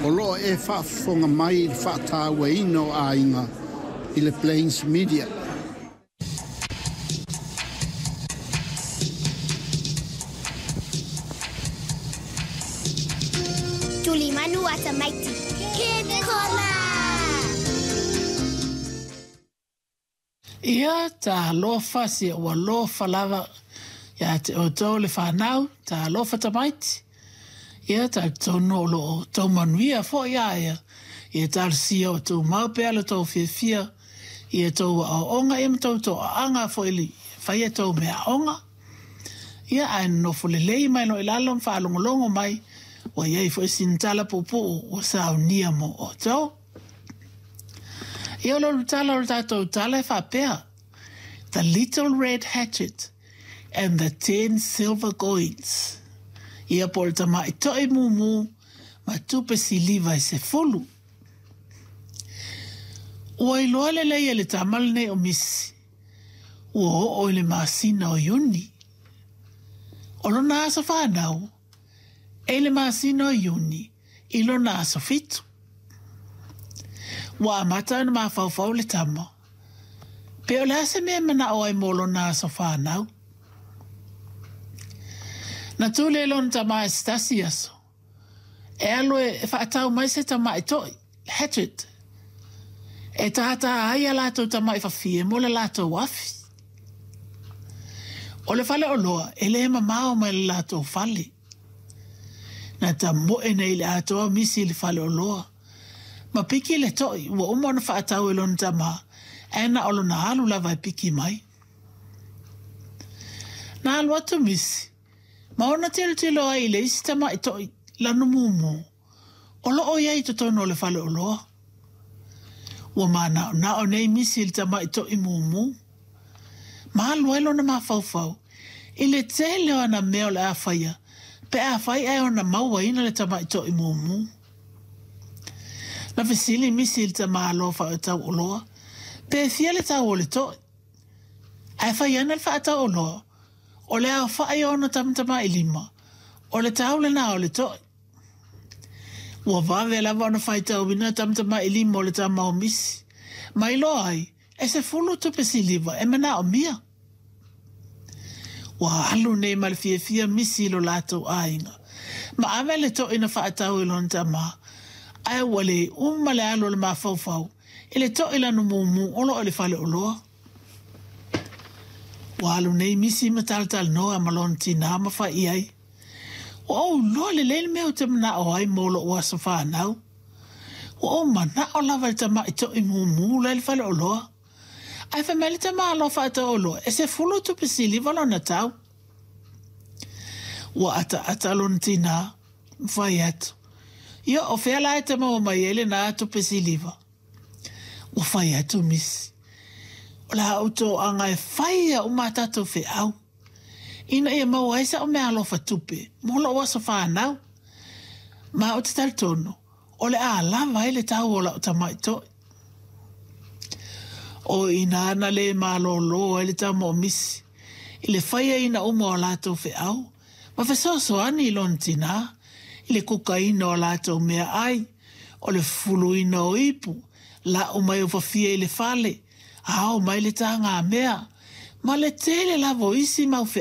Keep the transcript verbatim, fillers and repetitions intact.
O loo e faafofoga mai i le faatauaina o aiga i le Plains Media. Tulimanu Atamaiti. Kids Corner! Ia talofa si ua lofa lava ia te outou le whanau, talofa tamaiti. Ia talitonu o loo tou manuia foi ia ia. Ia talosia o tou mau pea lo tou fiafia. Ia tou aoaoga ia ma tou toaaga foi i le faia tou meaaoga. Ia ae nonofo lelei mai loa i lalo ma faalogologo mai ua iai foi sina tala puupuu ua saunia mo outou. Ia o le ulutala o le tatou tala e faapea, The Little Red Hatchet and the Ten Silver Coins. Ia po o le tama'i to'i mumu ma tupe siliva e sefulu. Ua iloa lelei e le tama lenei o Misi, ua oo i le masina o Iuni. O lona aso fanau, e i le masina o Iuni i lona aso fitu. Ua amata ona mafaufau le tama, pe o le a se mea e manao ai mo lona aso fanau. Na tu lea lona tama i se tasi aso, e alu e faatau mai se tama'i to'i, hatchet, e tātā ai a latou tama'i fafie mo le latou afi. O le fale oloa e le mamao mai le latou fale. Na tamoe nei i le atoa misi i le fale oloa. Ma piki le to'i ua uma ona faatau e lona tama, ae na o lona alu lava e piki mai. Na alu atu misi, ma ona tilotilo ai i le isi tama'i to'i lanu mumu, o loo i ai i totonu o le fale oloa. Ua manaonao nei misi i le tama'i to'i mumu. Ma alu ai lona mafaufau i le tele o ana mea o le a faia, pe afai ae ona mauaina le tama'i to'i mumu. Na fesili misi i le tamāloa faatau oloa, pe fia le tau o le to'i. Ae fai ana le faatau oloa, o le aofa'i o ona tamatama'i lima, o le tau lena o le to'i. Ua vave lava ona faitauina tamatama'i lima o le tama o misi, ma iloa ai e sefulu tupe siliva e manaomia. Ua alu nei ma le fiafia misi i lo latou aiga, ma ave le to'i na faatau i lona tama, ae ua le uma le alu o le mafaufau i le to'i lanu mumu o loo i le fale oloa. Ua alu nei misi ma talatalanoa ma lona tinā ma fai i ai, Ua ou iloa lelei le mea ou te manao ai mo lou aso fanau. Ua ou manao lava i le tama'i to'i mumu la i le fale oloa. Ae fai mai le tamāloa faatau oloa e sefulu tupe siliva lona tau. Ua ataata lona tinā, ma fai atu, Ia, o fea la e te maua mai ai lenā tupe siliva? Ua fai atu misi, O le a ou toaga e fai uma a tatou feau, ina ia maua ai sa'u meaalofa tupe mo lou aso fanau. Ma ou te talitonu, o le a lava ai le tau o la'u tama'i to'i. O i ina na le malōlō ai le tama o misi i le faiaina uma o a latou feau ma fesoasoani i lona tinā i le kukaina o a latou meaai, o le fufuluina o ipu, la'u mai o fafie i le fale, ao mai le tagamea, ma le tele lava o isi mau feau.